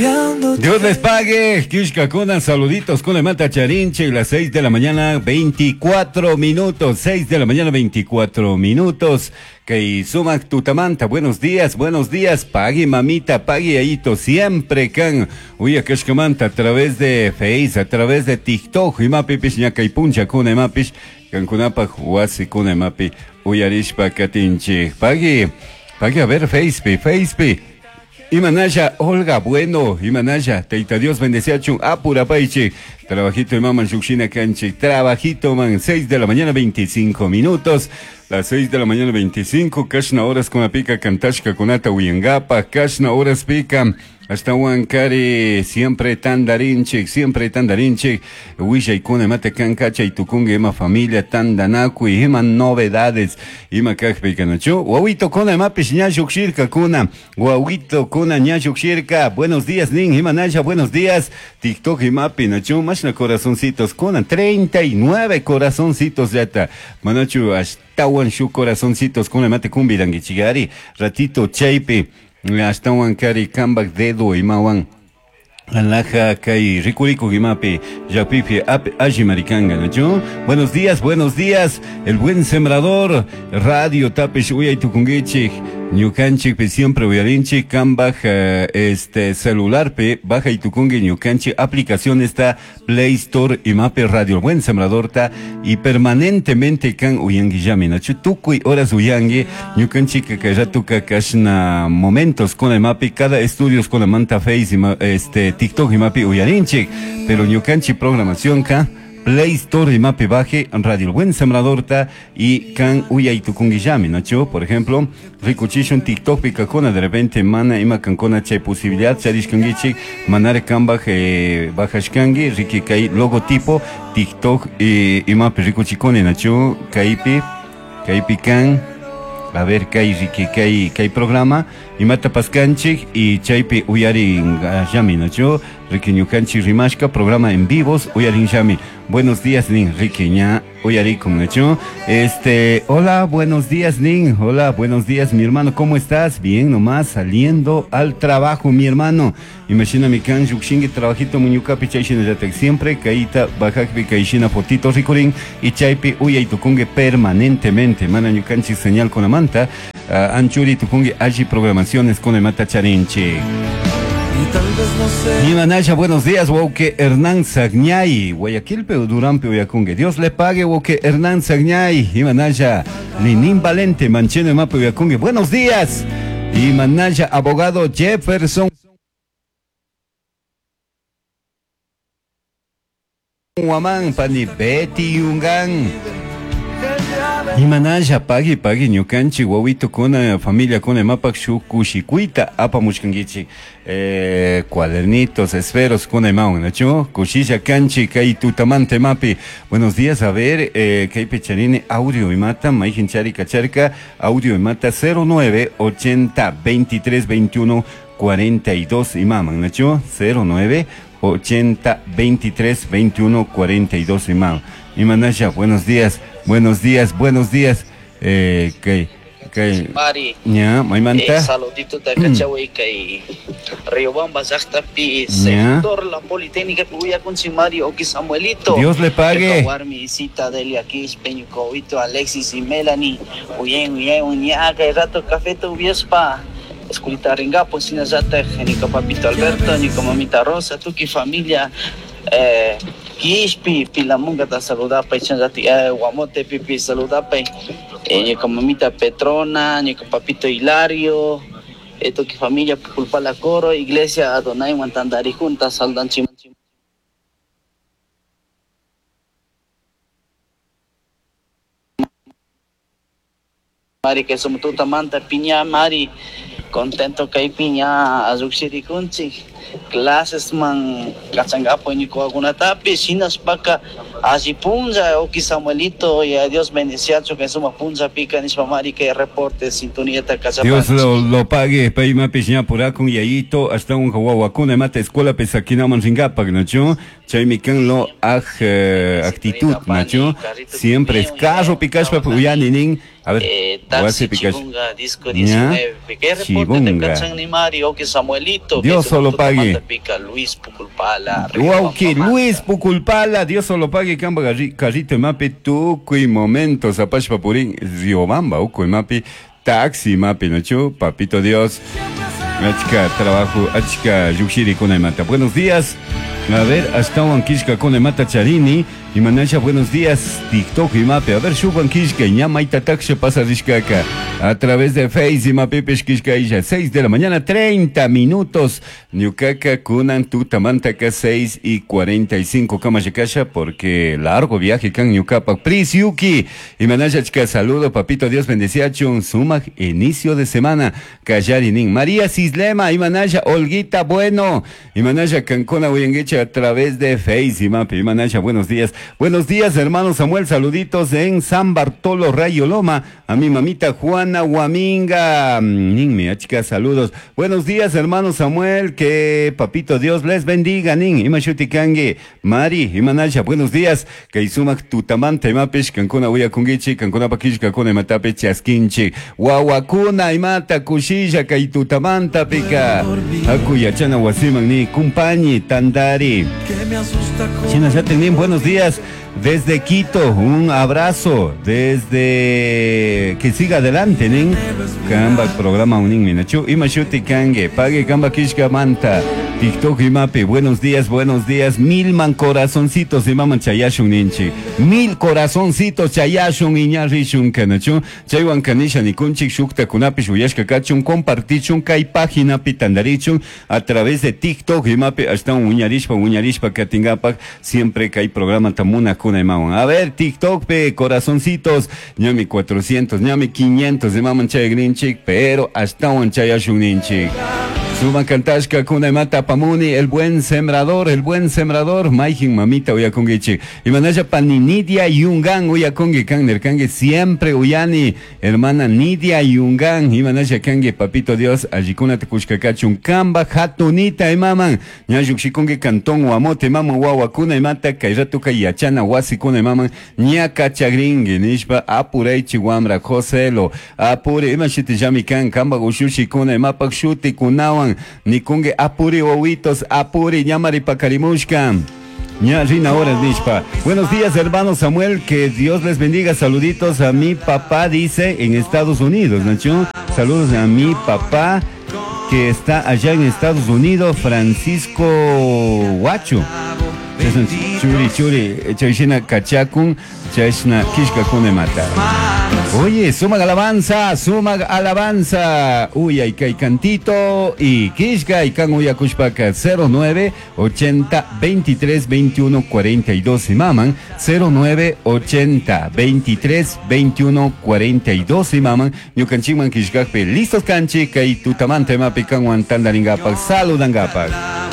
Dios les pague, Kishkakuna, saluditos con mata charinche, las 6 de la mañana, 24 minutos, 6 de la mañana, 24 minutos. Kay sumak tutamanta, buenos días, buenos días, pague mamita, pague ayito, siempre kan, uya kashkamanta, a través de Face, a través de TikTok, imapi pish ñakay puncha kuna imapish, kankunapaj wasi kuna imapi, uyarishpa katinchik, pague, pague a ver Face, Face, Imanaya, Olga, bueno, Imanaya, Teita Dios bendeciachun, apurapaiche, trabajito de maman Yuxina Canche, trabajito man, 6 de la mañana, 25 minutos, las 6 de la mañana, 25, Kashna horas con la pica, Kantashka kunata uyangapa, Kashna horas pica, hasta Huancari, siempre tandarinchik, siempre tandarinchik, Huilla y kuna mate kankacha y tukungue ima familia tandanakui, ima novedades, ima kajpi kanachu, wawito kuna mapish ñayuk kuna, wawito kuna ñayuk shirka, buenos días nin, ima naya, buenos días, TikTok imapi nachu, mashna corazoncitos kuna, 39 corazoncitos yata, manachu, ashtawan shu corazoncitos kuna mate kumbirangichigari, ratito chaypi, ashtawan kari kambak dedo imawan Alaja kay rikuriku imapi yapipi ap alli maricanga nachu. Buenos días, buenos días. El buen sembrador, radio tapish uyay tukungichik, ñukanchik pe siempre uyarinchik, kambaj este celular pe baja y tukungi ñukanchik aplicación está Play Store imapi radio el buen sembrador ta y permanentemente kan uyangi nachu tukuy horas uyangi ñukanchik kay ratuka kashna momentos con imapi cada estudios con la manta face ima, este TikTok imapi uyarinchik, pero ñukanchik programación ka Play Store imapi baje Radio El Buen Sembrador ta y kan uyay tukunguillami, nacho? Por ejemplo, rikuchishun TikTok pikakuna de repente mana ima kankuna chay posibilidad charishkanguichik manare kambaj bajashkangi riki kay logotipo TikTok imapi rikuchikuni, nacho? Kaypi, kaypi kan a ver, kay riki kay kay programa imata paskanchik y chaypi uyarin llami, nacho? Riki ñukanchik rimashka programa en vivos uyarin llami. Buenos días nin, riki ña uyarikun, nacho? Este, hola, buenos días nin, hola, buenos días mi hermano, ¿cómo estás? Bien nomás, saliendo al trabajo mi hermano. Imagina mi kan yukshingi trabajito muñukapi chayshina yatak siempre kayta bajakpi kayshina fotito rikurin y chaypi uyay tukungue permanentemente mana ñukanchik señal con la manta anchuri tukungue allí programaciones con el mata charinchi. Y tal vez no sé. Imanaya, buenos días, Woke Hernán Sagñay, Guayaquil, pero Durán, Uyakungue. Dios le pague, Woke Hernán Sagñay, Imanaya, Linín Valente, Mancheno, Mapo, Uyakungue. Buenos días, Imanaya, abogado Jefferson Huamán, Pani Betty Yungán. Imanaya, pagui, pagui, ñukanchik, wawito kuna, familia kuna, mapak shu kushikuita, apamushkankichik, cuadernitos, esferos, kuna imawan, nachu, kushisha kanchi, kay tutamante mapi. Buenos días, a ver, kay pecharine, audio imata, maijin chari kacharka, audio imata 09 80 23 21 42 imaman, nachu, 09 80 23 21 42 imam. Imanaya, buenos días, buenos días, buenos días. Kay, kay. Mari. Ya, maymanta. Saludito de Cachahuay, kay Riobamba, llaqtapi, sector La Politécnica, Uyakunchi, Mari, Oki Samuelito. Dios le pague. Warmi, Isita, Delia, Quispe, Ñucowito, Alexis y Melanie. Uyen, uyen, uña, kay rato, café, tu viespa. Esculita Ringapo, Sinazata, Nica Papito Alberto, Nica Mamita Rosa, Tuki familia, Quispi, Pilamunga, ta saludapa, Chanzati, Guamote, Pipi, saludapa, Nica Mamita Petrona, Nica Papito Hilario, Tuki familia, Pulpala Coro, Iglesia Adonai, Mantandari Junta, Saldanchi. Mari, que somos tuta manta, piña, Mari, contento que hay piña, azuxiri kunchi, clases man, cachangapo, ni coaguna tapi, chinas paca, allí punza, oki Samuelito, y a Dios bendeciacho, que suma punza pica, nispa Mari, que reporte, sintonía, ta, Dios lo pague, paima piña puracun, y ayito, hasta un jahuahuacuna, mata escuela, pesakina, manringapak, nacho, chaymican lo aj, actitud, nacho, siempre es carro, picaspa, puyani, nin. A ver, taxi Chibunga, disco 19, ¿qué reporte? Sibunga. Samuelito. Dios solo pague. Luis Puculpala. Wauki Luis Puculpala, Dios solo pague kamba carrito mapi tukuy momento zapashpa purin Riobamba ukuy mapi taxi mapi nachu papito Dios. Achka trabajo, achka lluqshiri kunaymanta. Buenos días. A ver, hasta kishka kunaymata charini. Imanasha, buenos días. TikTok imapi. A ver, shuban kishka ña mayta taksha pasa rishkaka. A través de Face imapipish kishka isha. 6 de la mañana, 30 minutos. Ñukaka kunan tutamantaka 6:45 kama shikasha porque largo viaje kan ñukapak. Pris Yuki. Imanasha chika saludo, papito Dios bendeciachun. Sumak inicio de semana. Kallarinin. María Cislema, Imanasha, Olguita Bueno. Imanasha Cancona Uyangueche a través de Face imapi. Imanasha, buenos días. Buenos días, hermano Samuel. Saluditos en San Bartolo Rayo Loma. A mi mamita Juana Guaminga. Ninmi, achika, saludos. Buenos días, hermano Samuel. Que papito Dios les bendiga. Nin, imashuti kangi. Mari, Imanasha, buenos días. Kay sumak tutamanta imapish, kankuna uyakungichi, kankuna pakish, kankuna imatapi chaskinchi. Wawakuna imata kushilla kay tutamanta pika. Aku yachana wasiman ni kumpañi tandari. China Nin, buenos días. Desde Quito, un abrazo. Desde que siga adelante, nin. Kamba programa unin minachu. Imashuti kange. Pague kamba kishka manta. TikTok imapi. Buenos días, buenos días. Milman corazoncitos imaman chayashun ninchi. Mil corazoncitos chayashun iñarrishun kanachu. Chaywan kanisha nikunchik shukta kunapish uyashka kachun compartichun kay página tandarichun a través de TikTok imapi hasta uñarishpa uñarishpa katingapak siempre kay programa tamuna kuna imawan. A ver, TikTok pe corazoncitos, ñami 400, ñami 500 imaman chayagrinchik, pero hasta un chayashun ninchik. Suman kantashka kuna imata pamuni, el buen sembrador, maijin mamita uyakungichik. Imanasha pani Nidia Yungan uyakungi kan nerkangi siempre uyani, hermana Nidia Yungan, imanasha kangi papito Dios, allikuna tekushkakachun kamba hatunita imaman, ñayukshikungi cantón guamote imaman wawakuna imata kayratuka yachana wasikuna imaman, ñaka chagringi nishpa apuraychi wamra Joselo, apure imashiti llami kan kamba ushushikuna imapak shuti kunawan, nikunge apuri wawitos, apuri ñamari pakarimushka. Ña rina horas nishpa. Buenos días, hermano Samuel, que Dios les bendiga. Saluditos a mi papá, dice, en Estados Unidos, Nacho. Saludos a mi papá que está allá en Estados Unidos, Francisco Huacho. Churi, churi, chayshina kachakun, chayshina kishka kunemata. Oye, suma alabanza, suma alabanza. Uy, ay, kay cantito y kishka y kan uyakushpaka 09 80 23 21 42 y maman 09 80 23 21 42 y maman ñukanchikman kishkakpi listos kanchi kay tutamanta imapi kanwan tandaringapak saludangapak.